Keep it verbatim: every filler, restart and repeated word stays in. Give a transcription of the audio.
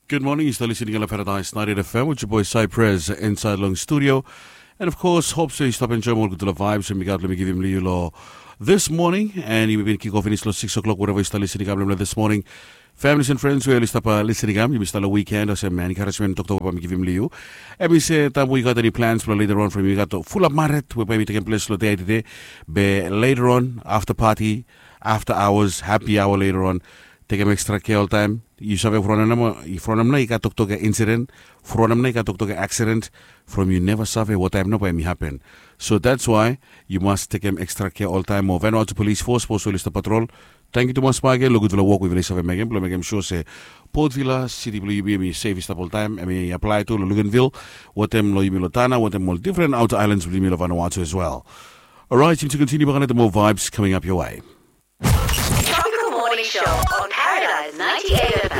Gud moning, yu stap listening long Paradise ninety-eight F M with your boy Cypress inside long studio. And of course, hope so yu stap enjoyim ol gudfala vibes we mi gat long mi givim long yu lo this morning. And yumi bin kick off finis lo six o'clock, wherever yu stap listening kam long this morning. Families and friends we oli stap uh, listening kam, yumi stap long weekend, olsem encouragement toktok we mi givim long yu. Em i se taim we yu gat eni plans blong later on from yu gat fulap maret we bae mi tekem ples lo dei tede. Be later on, after party, after hours, happy hour later on, tekem extra care oltaim. Yu save from namo from namo i gat toktok ya incident, from namo i gat toktok ya accident, from yu neva save wataim nao bae mi happen. So that's why yu mas tekem extra care oltaim. Mo Vanuatu Police Force pos oli stap patrol. Tangkiu tumas bagen lo gudfala wok we yufala i save mekem blong mekem sure se Port Vila, siti blong yumi, em i safe i stap oltaim. Em i apply tu lo Luganville, wetem lo yumi lo Tanna, wetem ol different outer islands blong yumi lo Vanuatu as well. Alright, yumi to continue back on the more vibes coming up your way. Tropical Morning Show on Paradise ninety-eight F M.